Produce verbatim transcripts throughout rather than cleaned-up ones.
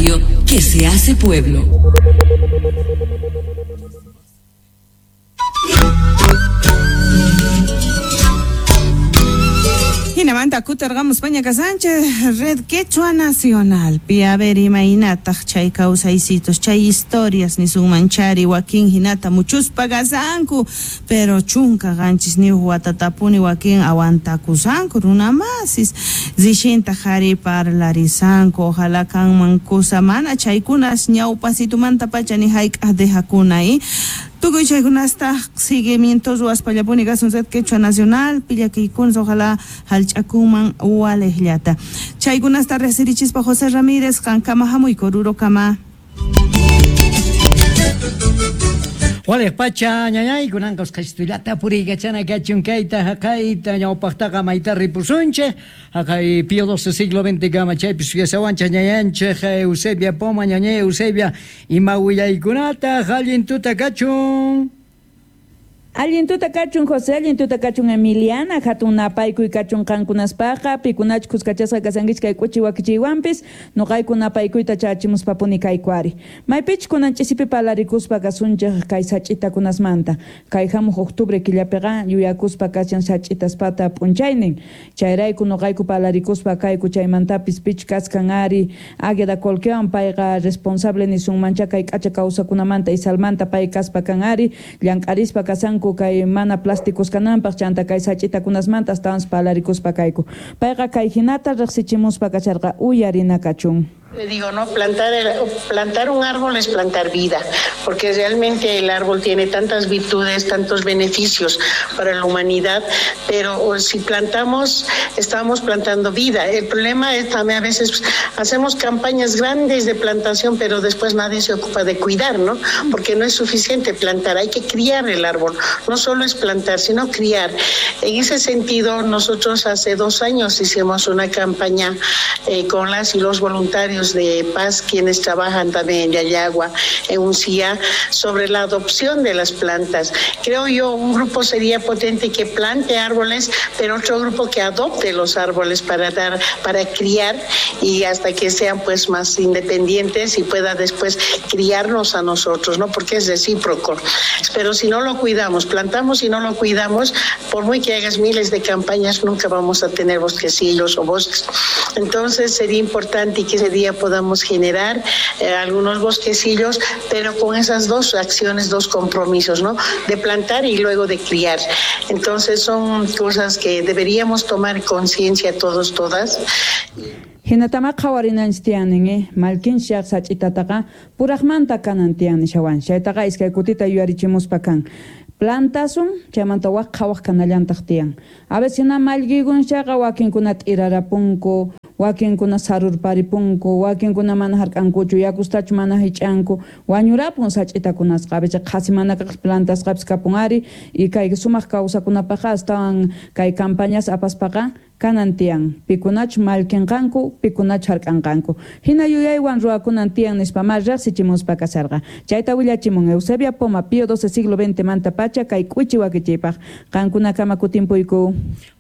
radio que se hace pueblo. Hinamanta kutarqamus Pañaca Sánchez, Red Quechua Nacional. Pi a ver imaynataq chay kawsaysitos, chay historias nisunmanchari wakin hinata muchuspa kasanku, pero chunka qanchisniyuq watatapuni wakin aguantakusanku runamasis. Rishinta qhari parlarisanku, ojalá kanman kusa mana chaykunas ñawpasitumanta pacha ni hayk'aq dejakuna y tukuy chaykunasta seguimiento ruwaspallapuni kasun Red Quechua Nacional, pillakiykunas ojalá hallch'akunman walejllata. Chaykunasta riqsirichispa José Ramírez, qankama hamuyku Orurokama. Walej pacha ñañay kunanqa usqhayllata puriykachana kachun kayta haqayta ñawpaqtaqa mayta ripusunchik haqay Pío doce siglo veinte kama chaypi suyasawanchik ñañanchik Eusebia Poma ñañay Eusebia ima willaykunata allin tuta kachun. Allin tuta kachun José, allin tuta kachun Emiliana, hatun napaykuy kachun qankunaspaqa, pikunach kuskachasqa kasankichik kay k'uchi wakichiywanpis, nuqayku napaykuyta chachimuspapuni kaykuari. Maypich kunan ch'isipi palarikuspa kasunchik kay sach'itakunasmanta, kay hamuq octubre killapiqa yuyakuspa kashan sach'itaspata p'unchaynin, chayrayku nuqayku palarikuspa kayku chaymantapis pich kaskan ari Águeda Colquewan payqa responsable nisunmancha kay k'acha kawsakunamanta Isalmanta pay kaspa kan ari, llank'arispa kasan kay mana plásticos kananpaq chanta kay sach'itakunasmanta astawan palarikuspa kayku. Payqa kay hinata riqsichimuspa kacharqa uyarina kachun. Le digo, no, plantar, el, plantar un árbol es plantar vida, porque realmente el árbol tiene tantas virtudes, tantos beneficios para la humanidad, pero si plantamos, estamos plantando vida. El problema es también a veces hacemos campañas grandes de plantación, pero después nadie se ocupa de cuidar, ¿no? Porque no es suficiente plantar, hay que criar el árbol. No solo es plantar, sino criar. En ese sentido, nosotros hace dos años hicimos una campaña eh, con las y los voluntarios de paz, quienes trabajan también en Llallagua, en Uncía, sobre la adopción de las plantas. Creo yo, un grupo sería potente que plante árboles, pero otro grupo que adopte los árboles para dar, para criar y hasta que sean pues más independientes y pueda después criarnos a nosotros, ¿no? Porque es recíproco. Pero si no lo cuidamos, plantamos y no lo cuidamos, por muy que hagas miles de campañas, nunca vamos a tener bosquecillos o bosques. Entonces sería importante que ese día podamos generar eh, algunos bosquecillos, pero con esas dos acciones, dos compromisos, ¿no? De plantar y luego de criar. Entonces son cosas que deberíamos tomar conciencia todos, todas. Hinatama qhawarinanchik tiyanin, eh? Malkinshaq sach'itataqa puraqmanta kanan tiyan nishawan. Chaytaqa iskay kutita yuyarichimuspa kan. Plantasun, chaymanta waq qhawaq kanallantaq tiyan. A veces hina mallkikunchaqa wakinkuna t'irarapunku, wakinkuna sarurparipunku, wakinkuna mana hark'ankuchu, yakustachu mana hich'anku, wañurapun sach'itakunasqa. A veces qhasi mana kaq plantasqapis kapun ari, y kay sumaq kawsakunapaqqa astawan kay campañas apaspaqa kanan tiyan, pikunachu mallkinqanku, pikunachu hark'anqanku. Hina yuyaywan ruwakunan tiyan nispa ma riqsichimuspa kasarqa. Chayta willachimun Eusebia Poma, Pío doce siglo veinte manta pacha kay k'uchi wakichiypaq. Qankunakama kutimpuyku.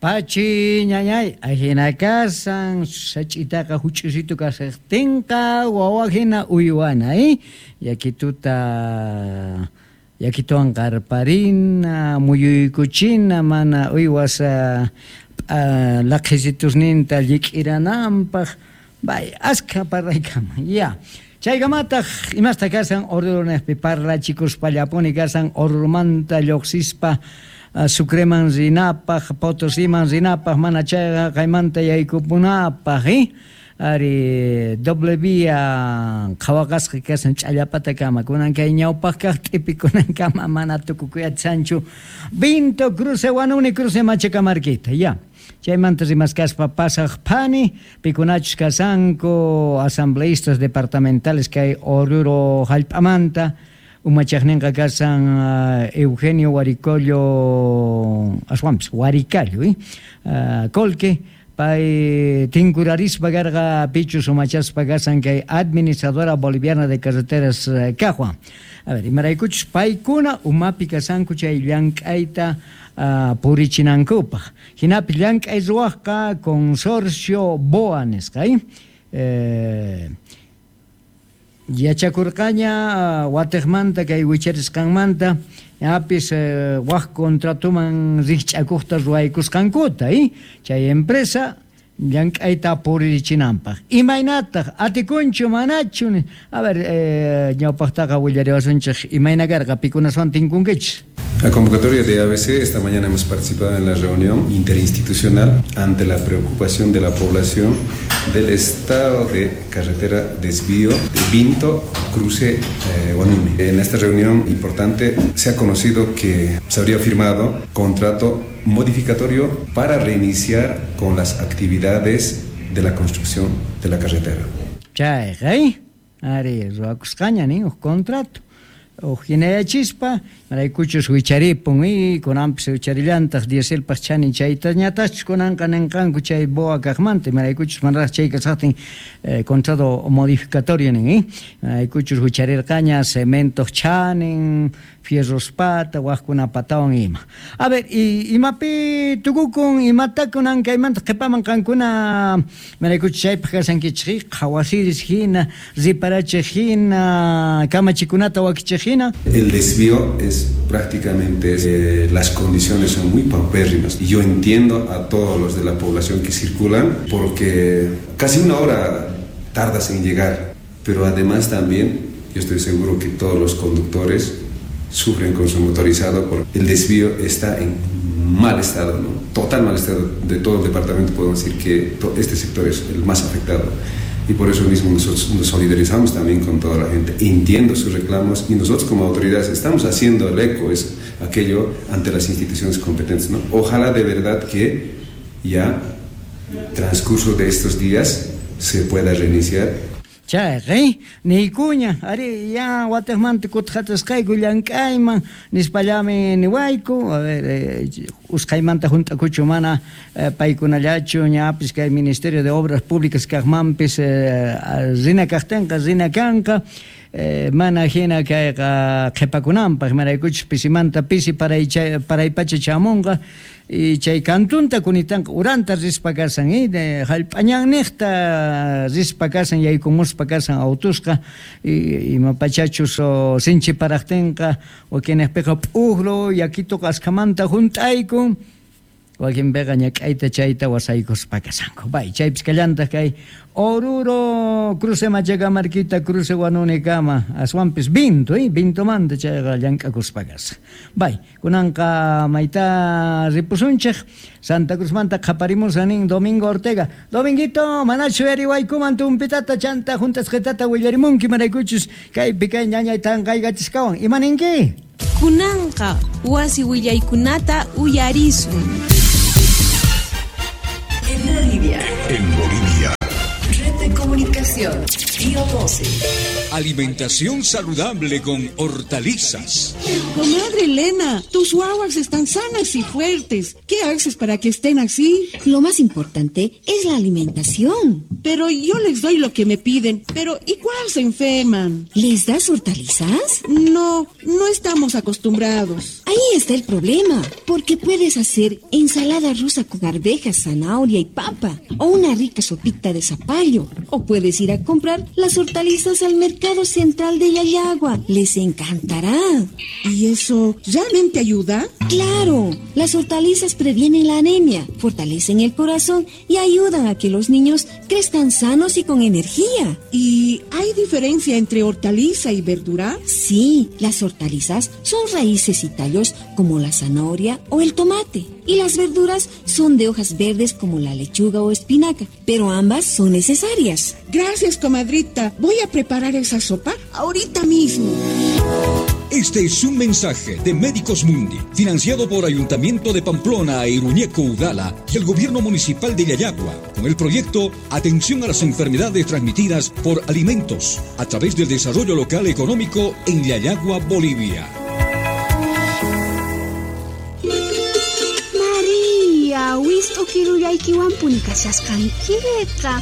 Pachi ñañay, ajina kasan, sach'itaqa huch'usitu kasaqtinqa, wawa hina uywana, eh? Yakituta yakituwan qarparina, muyuykuchina, mana uywas uh, laqhisitusninta llik'irananpaq, bay askha parraykama, ya. Chaykamataq imasta kasan Orurunejpi parlachikuspallapuni kasan Orurumanta lluqsispa uh, Sucreman rinapaq, Potosiman rinapaq, mana chayqa qaymanta yaykupunapaq, eh? Ari doble vía qhawaqasqa kasan ch'allapata kama kunan kay ñawpaq kaq t'ipikunan kama mana tukukuyatsanchu Vinto cruce Huanuni cruce Machacamarquita, ya. Chaymanta rimaskaspa pasaq phani pikunachus kasanku asambleístas departamentales kay Oruro hallp'amanta umachaqninqa kasan uh, Eugenio Huaricollo aswanpis Huaricallo, eh? Uh, Colque pay tinkurarispa karqa pichus umachaspa kasan kay administradora boliviana de carreteras uh, Cajua. A ver, imaraykuchus paykuna umapi kasanku chay llank'ayta uh, purichinankupaq. Hinapi llank'ay ruwaqqa consorcio B O A nisqa, eh? Eh, Yachakurqaña watiqmanta kay wicharisqanmanta ñapis waq contratuman rikch'akuqta ruwaykusqankuta, eh? Chay empresa llank'ayta puririchinanpaq. Imaynataq atikunchu manachu? A ver, eh, ñawpaqtaqa willariwasunchik imayna karqa pikunaswan tinkunkichis. La convocatoria de A B C, esta mañana hemos participado en la reunión interinstitucional ante la preocupación de la población del estado de carretera desvío de Vinto, cruce eh, Huanuni. En esta reunión importante se ha conocido que se habría firmado contrato modificatorio para reiniciar con las actividades de la construcción de la carretera. Chay, ari, ruwakusqaña nin uj contrato. Ujinayachispa, maraykuchus wicharipun y kunanpis wicharillantaq dieselpaq chanin chaytañatachus kunanqa ninqanku chay boa kaqmanta, maraykuchus manaraq chay kasaqtin eh, contrato modificatorio nin, eh? Maraykuchus wicharirqaña cementoq chanin, fierros pata, waqkuna patawan ima. A ver, y imapi tukukun, imata kunan kaymanta qhipaman qankuna maraykuchus chaypaq kasankichik, qhawasiris hina, riparachiq hina, kamachikunata wakichiq hina. El desvío es prácticamente, eh, las condiciones son muy paupérrimas. Y yo entiendo a todos los de la población que circulan porque casi una hora tardas en llegar. Pero además también yo estoy seguro que todos los conductores sufren con su motorizado porque el desvío está en mal estado, ¿no? Total mal estado de todo el departamento. Podemos decir que este sector es el más afectado. Y por eso mismo nosotros nos solidarizamos también con toda la gente. Entiendo sus reclamos y nosotros como autoridades estamos haciendo el eco, es aquello ante las instituciones competentes, ¿no? Ojalá de verdad que ya transcurso de estos días se pueda reiniciar. Chay, niykuña, ari ya watiqmanta kutqatasqayku llank'ayman nispallami niwayku, a ver, eh, usqhaymanta hunt'akuchu mana eh, paykunallachu ñapis kay Ministerio de Obras Públicas kaqmanpis eh, rina kaqtinqa rina kanqa. Eh, mana hina kayqa qhipakunanpaq maraykuchus pisimanta pisi paray paraypacha chamunqa y chay kantunta kunitanqa uranta rispa kasan eh, hallp'añanniqta rispa kasan yaykumuspa kasan autusqa y imapachachus sinchi paraqtinqa wakinniqpiqa p'ujlu yakituqa askhamanta hunt'aykun wakinpiqa ñak'ayta chayta wasaykuspa kasanku. Bay, chaypis kallantaq kay Oruro cruce Machacamarquita cruce Huanunikama aswanpis Vinto, eh, Vintomanta chayqa llank'akuspa kasa. Bay, kunanqa mayta ripusunchik Santa Cruzmanta qhaparimusa nin Domingo Ortega. Dominguito, manachu yariwaykuman tumpitata chanta juntasqitata willarimunki maraykuchus kaypi kay ñañay tanqaykachisqawan. Ima ninki? Kunanqa wasi willaykunata uyarisun. En Bolivia. En Bolivia. Red de comunicación. Río doce. Alimentación saludable con hortalizas. Comadre Elena, tus guaguas están sanas y fuertes. ¿Qué haces para que estén así? Lo más importante es la alimentación. Pero yo les doy lo que me piden, pero igual se enferman. ¿Les das hortalizas? No, no estamos acostumbrados. Ahí está el problema, porque puedes hacer ensalada rusa con arvejas, zanahoria y papa, o una rica sopita de zapallo, o puedes ir a comprar las hortalizas al mercado central de Llallagua. Les encantará. ¿Y eso realmente ayuda? ¡Claro! Las hortalizas previenen la anemia, fortalecen el corazón y ayudan a que los niños crezcan sanos y con energía. ¿Y hay diferencia entre hortaliza y verdura? Sí, las hortalizas son raíces y tallos como la zanahoria o el tomate. Y las verduras son de hojas verdes como la lechuga o espinaca, pero ambas son necesarias. Gracias, comadrita. Voy a preparar esa sopa ahorita mismo. Este es un mensaje de Médicos Mundi, financiado por Ayuntamiento de Pamplona e Iruñeco Udala y el Gobierno Municipal de Llallagua, con el proyecto Atención a las Enfermedades Transmitidas por Alimentos, a través del Desarrollo Local Económico en Llallagua, Bolivia. María, wist'u kirullaykiwanpuni kashasqankiqa.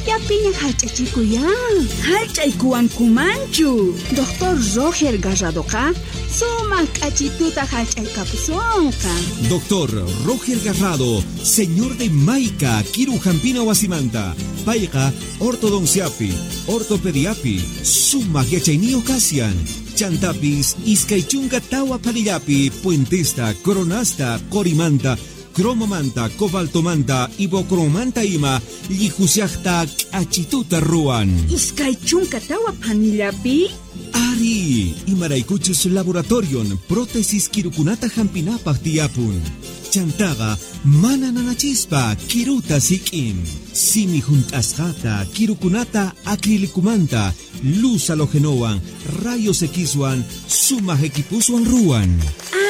Sumaqllapiña hallch'achikuyan. Hallch'aykuwankumanchu. Doctor Roger Garradoqa sumaq k'achituta hallch'aykapusunqa. Doctor Roger Garrado, señor de Maica, Kiru Hampina Wasimanta, Payqa, Ortodonciapi, Ortopediapi, Sumaq Yachayniyuq Kasian, Chantapis, Iskay Chunka Tawa Parillapi, Puentesta, Coronasta, Corimanta, Cromomanta, Cobaltomanta, Ibocromanta ima, Llijusiaqta, K'achituta ruwan. Iskay chunka tawa panillapi? Ari, imaraykuchus laboratorion, prótesis kirukunata hampinapaq tiyapun. Chantaqa, mana nanachispa, kiruta sik'in. Simi hunt'asqata, kirukunata acrilicumanta, luz halogenowan, rayos Xwan, sumaq equipuswan ruwan.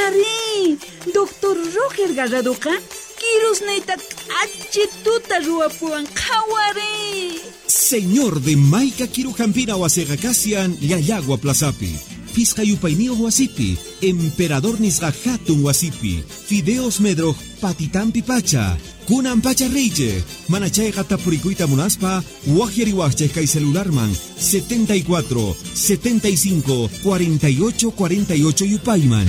Ari, Doctor Roger Garradoqa, kirusniyta k'achituta ruwapuwan qhawari. Señor de Maica Kirujampina wasiqa kasian Llallagua Plazapi. Pisqa yupayniyuq wasipi, Emperador nisqa hatun wasipi, Fideos Medroj patitampi pacha, Kunan pacha riychej, mana chayqa tapurikuyta munaspa, waqyariwaqchej kay celularman setenta y cuatro, setenta y cinco, cuarenta y ocho, cuarenta y ocho yupayman.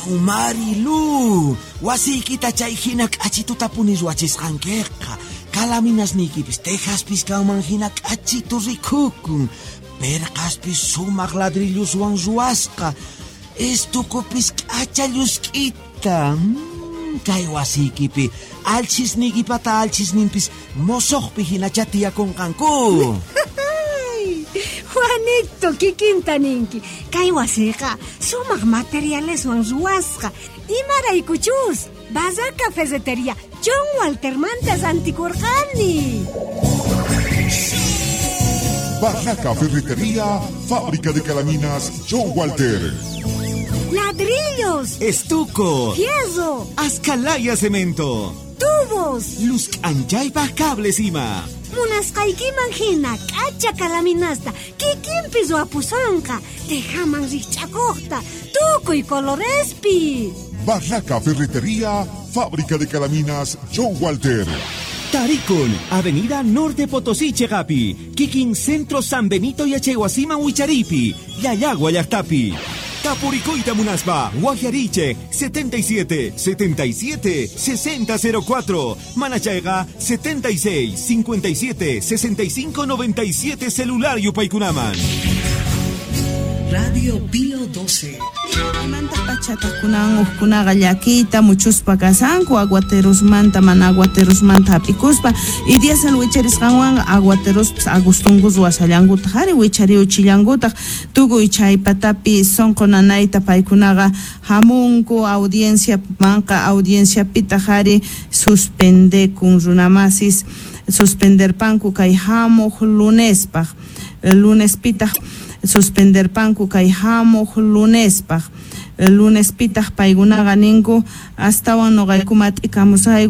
Wow, Marilu, wasiykita chay hina k'achituta puni ruwachisqankiqa. Kalaminasniykipis tejaspis kanman hina k'achitu rikukun. Perqaspis sumaq ladrilluswan ruwasqa. Estukupis k'acha llusk'ita. Mm, kay wasiykipi alchisniykipata alchisninpis mosoqpi hinacha tiyakunqanku. Juanito, kikinta ninki. Kay wasiqa sumaq materialeswan ruwasqa. Imaraykuchus Barraca Ferretería John Walter mantas antikurqani. Barraca Ferretería, fábrica de calaminas John Walter. Ladrillos, estuco, fierro, ascalaya cemento, tubos, luz anchaypaj cables ima. Munasqaykiman hina k'acha kalaminasta kikinpi ruwapusonqa, tejaman rikch'akuqta, tukuy colorespi. Barraca Ferretería, fábrica de calaminas John Walter. Tarikun, Avenida Norte Potosí, Chegapi, Kikin Centro San Benito y Achehuasima Huicharipi, Llallagua Llaqtapi. Tapuricoita Munaspa, Guajariche, setenta y siete, setenta y siete, sesenta cero cuatro, Manachaiga, setenta y seis, cincuenta y siete, sesenta y cinco, noventa y siete, celular Yupaykunaman. Radio Pío doce. Manta pachatakunan uqkunaqa llakiyta muchuspa kasanku aguaterosmanta mana aguaterosmanta hap'ikuspa y diésel wicharisqanwan aguaterospas agustunkus ruwasallankutaq ari wichariuchillankutaq tukuy chay patapi sunqu nanayta paykunaqa hamunku audiencia manqa audienciapitaq ari suspendekun runamasis suspenderpanku kay hamuq lunespaq lunespitaq suspenderpanku kay hamuq lunespaq lunespitaq paykunaqa ninku astawan nuqayku mat'ikamusayku.